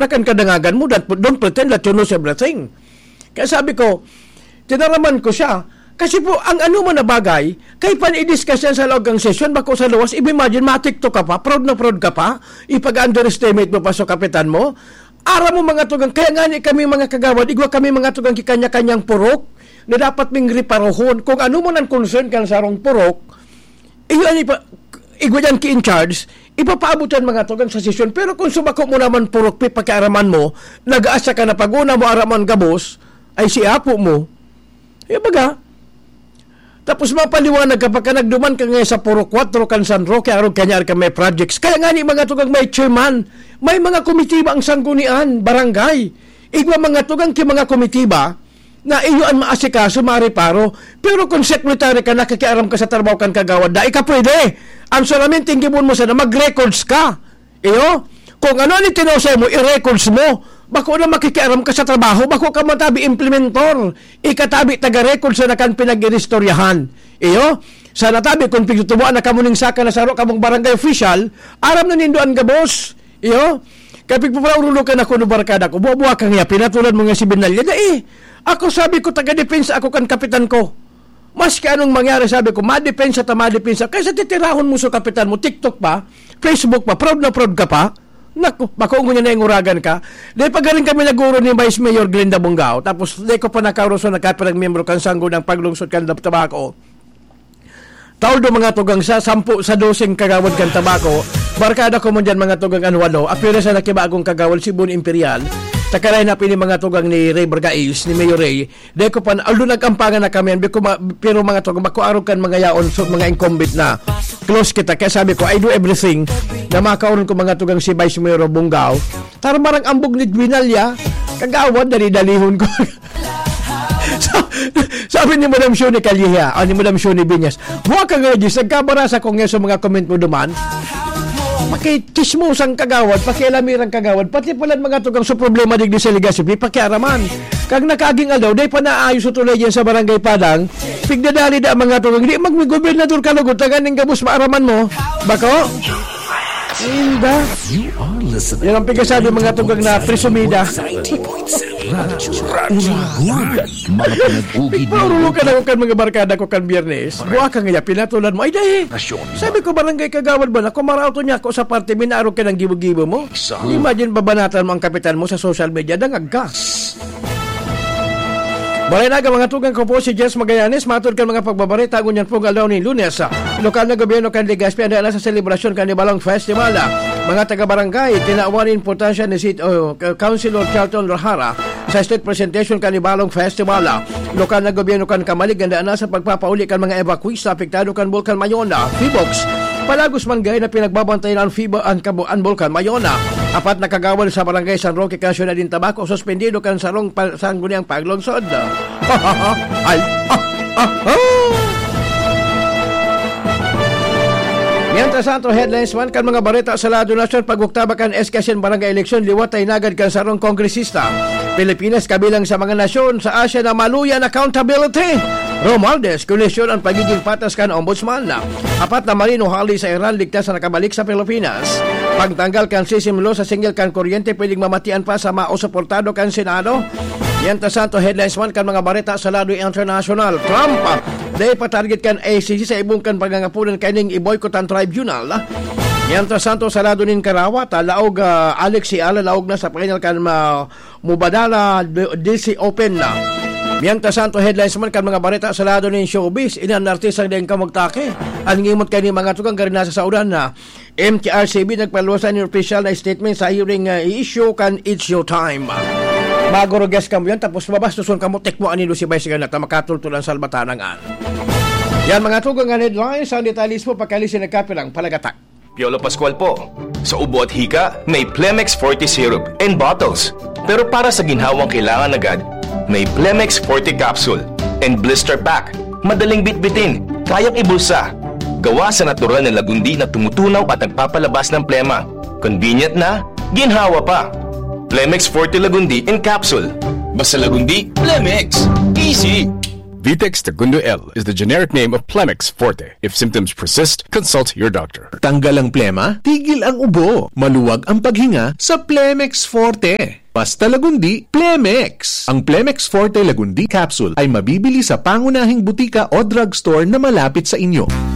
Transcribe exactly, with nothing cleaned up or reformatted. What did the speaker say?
na kan kadangagan mo, don't, don't pretend that you knows everything. Kaya sabi ko, tinaraman ko siya. Kasi po, ang ano man na bagay, kay pan i-discuss yan sa loob ng session, bako sa luwas, i-imagine, matikto ka pa, proud na proud ka pa, ipag-underestimate mo pa sa kapitan mo. Aram mo, mga tugang, kaya nga ni kami, mga kagawad, igwa kami, mga tugang, kikanya-kanyang purok, na dapat ming reparohon. Kung ano man ang concern kan sarong purok, iyo, ano pa, igwa dyan ki-in charge, ipapaabot yan, mga tugang, sa sesyon. Pero kung subako mo naman purok, pi, pakiaraman mo, nag-aasa ka na pag-una mo, araman gabos, ay si apo mo. Eh, baga, tapos mapaliwanag ka, pagka nagduman ka nga sa Puro Cuatro kan San Roque, arog kanyari ka may projects. Kaya nga ni mga tugang may chairman, may mga komitiba ang sanggunian, barangay. Igwa mga tugang ki mga komitiba na iyo an maasikaso, mareparo. Pero kung secretary ka, nakikiaram ka sa trabaho kan kagawad, dai ka pwede. Ang solamente ang gibon mo sana, mag-records ka. Iyo, kung ano ang itinao sa imo, i-records mo. Bako na makikiaram ka sa trabaho, bako ka matabi implementor. Ikatabi taga-record sa nakan pinag-iristoryahan. Iyo, sa natabi kung pigtutubuan na kamo ning saka na saro kamong barangay official, aram na nindo an gabos. Iyo, kapag paparulo ka na kuno barkada ko, buwa-buwa ka nga, pinatulan mo nga si Binalya. Dai, ako sabi ko, taga-depensa ako kan kapitan ko. Maski anong mangyari, sabi ko, madepensa ta, madepensa. Kaysa titirahon mo sa kapitan mo, TikTok pa, Facebook pa, proud na proud ka pa. Naku, bako ngunyan na inguragan ka. Dai pa galing kami naguro ni Vice Mayor Glenda Bongao. Tapos, dai ko pa nakaroso, nagkapirang miyembro kan Sangguniang Paglungsod kan Tabaco. Taon do mga tugang sa sampu sa doseng kagawad kan Tabaco. Barkada ko man dyan mga tugang an walo. Apira sa nakibagong kagawad si Bon Imperial. Takaray na pini mga tugang ni Ray Bargais, ni Mayor Ray. Dai ko pa, although nag-ampangan na kami, bi ko ma-, pero mga tugang, bako arog kan mga yaon, so mga incumbent na. Close kita. Kaya sabi ko, I do everything na makaoron ko mga tugang si Vice Mayor Bongao. Tara marang ambog ni Binalya, kagawad, dali-dalihon ko. Sa-, sabi ni Madam Shoni Calleja, o ni Madam Shoni Binyas, "Buha ka nga, Jis, nagkabara sa Kongreso mga comment mo duman." Pakichismosang kagawad, pakialamirang kagawad, pati pala mga tugang sa problema digdi sa Legazpi, pakiaraman. Kag nakaaging aldaw, dai pa naayos sa tulay diyan sa Barangay Padang, pigdadali da ang mga tugang, di magmigobernador ka lugod, tangan ning gabos maaraman mo. Bako? Inda. You are listening. Yan ang pigasabi mga tugang na presumida. Radyo, Radyo Uragan. Mga pinag-ugi na Paurulukan ako kan mga barkada ko kan Biyernes. Buha ka nga, pinatulan mo. Ay, dai. Nasyon. Sabi ko, barangay kagawad ba na? Kung marauto niya ako sa parte, minarog ka ng gibo-gibo mo. Sa Imagine, babanatan mo ang kapitan mo sa social media, dangag ka. Balay Naga, mga tugang ko po si Jess Magallanes, matod kan mga pagbabareta, ngunyan pong aldaw ni Lunes. Lokal na gobyerno kan Legazpi, anda na sa selebrasyon kan Ibalong Festival. Mga taga-barangay, tinawan importansya ni City, oh, Councilor Charlton Rahara, sa state presentation kan Ibalong Festival. Lokal na gobyerno kan Camalig, handa na sa pagpapauli kan mga evacuees na apektado kan Bulkan Mayona, Phivolcs. Palagos man gay na pinagbabantayan ang Fibo-, ang Kabo-, ang Bulkan Mayona. Apat na kagawad sa Barangay San Roque kan Siyudad nin Tabaco, suspendido kan sarong pa-, sangguniang paglungsod. Ay, ah, ah, ah! Mientras tanto, headlines man kan mga bareta sa lado nasyon, pag-oktaba kan S K S N Barangay Eleksyon, liwat ay nagad kan sarong kongresista. Pilipinas kabilang sa mga nasyon sa Asia na maluya an accountability. Romualdez, kolisyon ang pagiging patas kan ombudsman. Apat na marino hali sa Iran ligtas na nakabalik sa Pilipinas. Pagtanggal kan sisim law sa singil kan kuryente pwedeng mamatian pa sa maosuportado kan Senado. Mientras tanto, headlines man kan mga bareta sa lado internasyonal. Trump, dai pa target kan I C C sa ibong kan pangangapunan kaining i-boycott ang tribunal. Mientras tanto, sa lado nin karawat, ah, laog, ah, Alex Eala, laog na sa final kan ma-, Mubadala D-, D C Open na. Mientras tanto, headlines man kan mga bareta sa lado nin showbiz, ini an artistang daing kamugtaki. An ngimot kaining mga tugang gari nasa saudan na. M T R C B nagpaluwas nin opisyal na statement sa hearing, ah, i-issue kan It's Your Time. Maguro guest kamo yan, tapos mabastuson kamo, tikmo anido si Vice Ganda, ta makatultol an salbatanang an. Yan mga tugang an headlines, ang detalye mismo pagkalisin nagkapirang palagatak. Piolo Pascual po. Sa ubo at hika, may Plemex Forte Syrup and bottles. Pero para sa ginhawang kailangan agad, may Plemex Forte Capsule and Blister Pack. Madaling bitbitin, kayang ibulsa. Gawa sa natural na lagundi na tumutunaw at nagpapalabas ng plema. Convenient na, ginhawa pa. Plemex Forte Lagundi in Capsule. Basta Lagundi, Plemex. Easy! Vitex Tagundo L is the generic name of Plemex Forte. If symptoms persist, consult your doctor. Tanggal ang plema, tigil ang ubo, maluwag ang paghinga sa Plemex Forte. Basta Lagundi, Plemex! Ang Plemex Forte Lagundi Capsule ay mabibili sa pangunahing butika o drugstore na malapit sa inyo.